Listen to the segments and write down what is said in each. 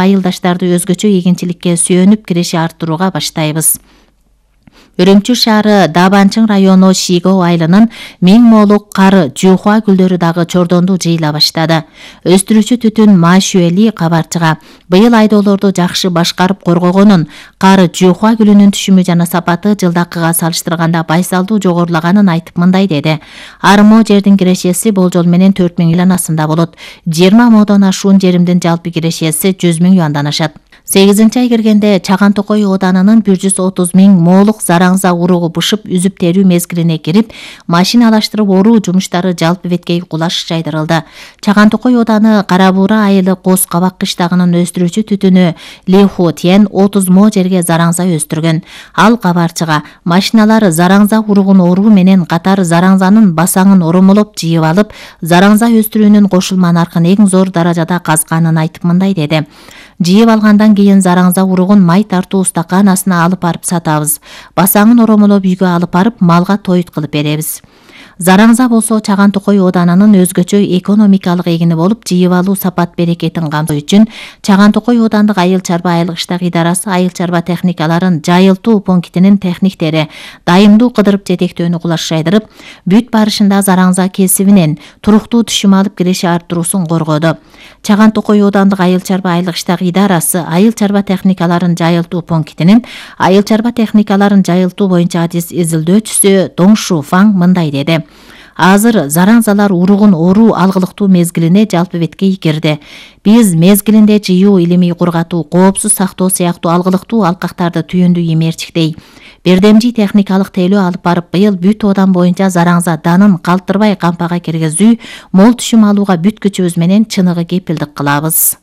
айылдаштарды өзгөчө эгинчиликке сүйөнүп киреше арттырууга баштайбыз. Үрүмчү шаары Дабанчың району Шиго айылынын 1000 молук кары жуухуа гүлдөрү дагы чордонду жыйыла баштады. Өстүрүүчү түтүн Машуэли кабарчыга быйыл айдоолорду жакшы башкарып коргогонун, кары жуухуа гүлүнүн түшүмү жана сапаты жылдакыга салыштырганда байсалдуу жогорулаганын айтып мындай деди. Армо жердин кирешеси болжол менен 4000 юанасында болот. 20 модон ашуун жеримдин жалпы кирешеси 100 000 юандан ашат. 8-ай киргенде Чаган Токой ооданынын 130 000 молук зараңза уругу бышып үзүп терүү мезгилине кирип, машиналаштырып оруу жумуштары жалпы беткей кулаш жайдырылды. Чаган Токой ооданы Кара Буура айылы Коз Кабак кыштагынын өстүрүүчү түтүнү Ли Хо Тен 30 мо жерге зараңза өстүргөн. Ал кабарчыга машиналар зараңза уругун оруу менен катар зараңзанын басаңын оромолоп жыйып алып, зараңза өстүрүүнүн кошулма наркын эң зор даражада казганын айтып мындай деди. Жыйып алгандан кийин зараңза уругун май тартуу стаканасына алып барып сатабыз. Басаңын оромолоп үйгө алып барып малга тоют кылып беребиз. Зараңза болсо Чаган Токой ооданынын өзгөчө экономикалык эгини болуп, жыйып алуу сапат берекетин камтоо үчүн Чаган Токой оодандык айыл чарба айылгыштак идарасы айыл чарба техникаларын жайылтуу пунктинин техниктери дайымдуу кыдырып жетектөөнү кулаш жайдырып, бүт барышында зараңза кесибинен туруктуу түшүм алып киреше арттыруусун коргоду. Чаган Токой оодандык айыл чарба айылгыштак идарасы айыл чарба техникаларын жайылтуу пунктинин айыл чарба техникаларын жайылтуу боюнча адис изилдөөчүсү Доңшу Фаң мындай деди. Азыр зараңзалар уругун оруу алгылыктуу мезгилине жалпы беткей кирди. Биз мезгилинде жыюу, илимий кургатуу, коопсуз сактоо сыяктуу алгылыктуу алкактарды түйүндүү эмерчиктей бирдемжи техникалык тейлөө алып барып, быйыл бүт оодан боюнча зараңза данын калтырбай кампага киргизүү, мол түшүм алууга бүт күчүбүз менен чыныгы кепилдик кылабыз.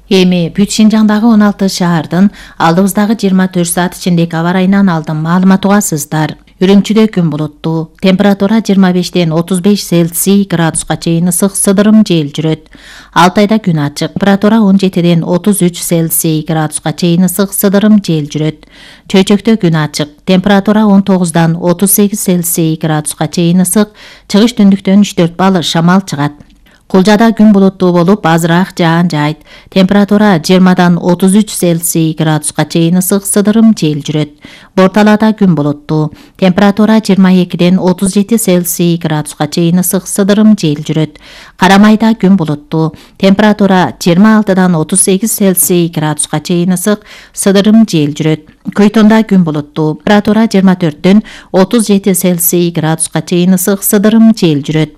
Эми бүт Шинжаңдагы 16 шаардын алдыбыздагы 24 саат ичиндеги аба ырайынан алдым маалымат угасыздар. Үрүмчүдө күн булуттуу, температура 25-ден 35 Цельсий градуска чейин ысык, сыдырым жел жүрөт. Алтайда күн ачык, температура 17-ден 33 Цельсий градуска чейин ысык, сыдырым жел жүрөт. Чөйчөктө күн ачык, температура 19-дан 38 Цельсий градуска чейин ысык, чыгыш түндүктөн 3-4 балл шамал чыгат. Кулжада күн булуттуу болуп, азыраак жаан жайт. Температура 20-дан 33 Цельсий градуска чейин ысык, сыдырым жел жүрөт. Борталада күн булуттуу. Температура 22-ден 37 Цельсий градуска чейин ысык, сыдырым жел жүрөт. Карамайда күн булуттуу. Температура 26-дан 38 Цельсий градуска чейин ысык, сыдырым жел жүрөт. Көйтонда күн булуттуу. Температура 24-ден 37 Цельсий градуска чейин ысык, сыдырым жел жүрөт.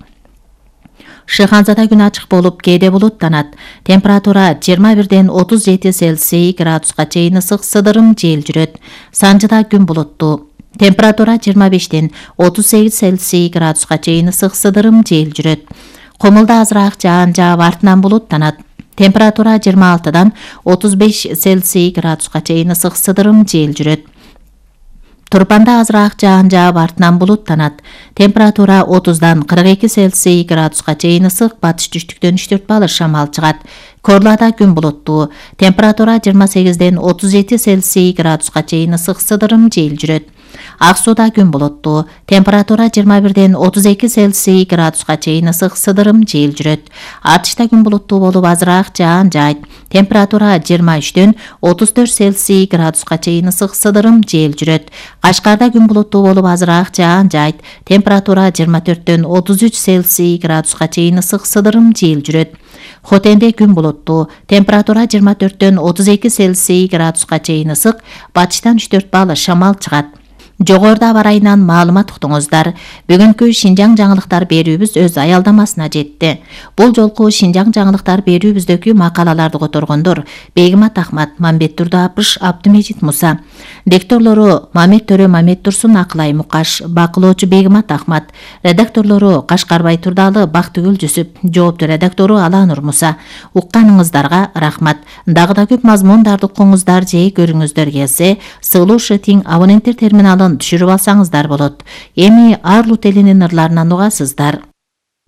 Шыханзада күн ачык болуп, кээде булуттанат. Температура 21-ден 37 Цельсий градуска чейин ысык, сыдырым жел жүрөт. Санжыда күн булуттуу. Температура 25-ден 38 Цельсий градуска чейин ысык, сыдырым жел жүрөт. Комулда азыраак жаан жаап, артынан булуттанат. Температура 26-дан 35 Цельсий градуска чейин ысык, сыдырым жел жүрөт. Турпанда азыраак жаан жаап, артынан булуттанат. Температура 30-дан 42 Цельсий градуска чейин ысык, батыш түштүктөн 3-4 балл шамал чыгат. Корлада күн булуттуу. Температура 28-ден 37 Цельсий градуска чейин ысык, сыдырым жел жүрөт. Ак Сууда күн булуттуу. Температура 21-ден 32 Цельсий градуска чейин ысык, сыдырым жел жүрөт. Атышта күн булуттуу болуп, азыраак жаан жайт. Температура 23-ден 34 Цельсий градуска чейин ысык, сыдырым жел жүрөт. Кашкарда күн булуттуу болуп, азыраак жаан жайт. Температура 24-ден 33 Цельсий градуска чейин ысык, сыдырым жел жүрөт. Хотенде күн булуттуу. Температура 24-ден 32 Цельсий градуска чейин ысык, батыштан 3-4 балл шамал чыгат. Жогоруда аба ырайынан маалымат уктуңуздар. Бүгүнкү Шинжаң жаңылыктар берүүбүз өз аялдамасына жетти. Бул жолку Шинжаң жаңылыктар берүүбүздөгү макалаларды которгондор Бегимат Ахмат, Мамбет Турдапыш, Абдымежит Муса. Дикторлору Мамет Төрө, Мамет Турсун, Акылай Мукаш, бакылоочу Бегимат Ахмат. Редакторлору Кашкарбай Турдалы, Бактыгүл Жүсүп, жоопту редактору Аланур Муса. Укканыңыздарга рахмат. Дагы да көп мазмундарды укуңуздар же көрүңүздөр келсе, сылуу шытиң абоненттер терминалын түшүрүп алсаңыздар болот. Эми Арлут элинин ырларынан угасыздар.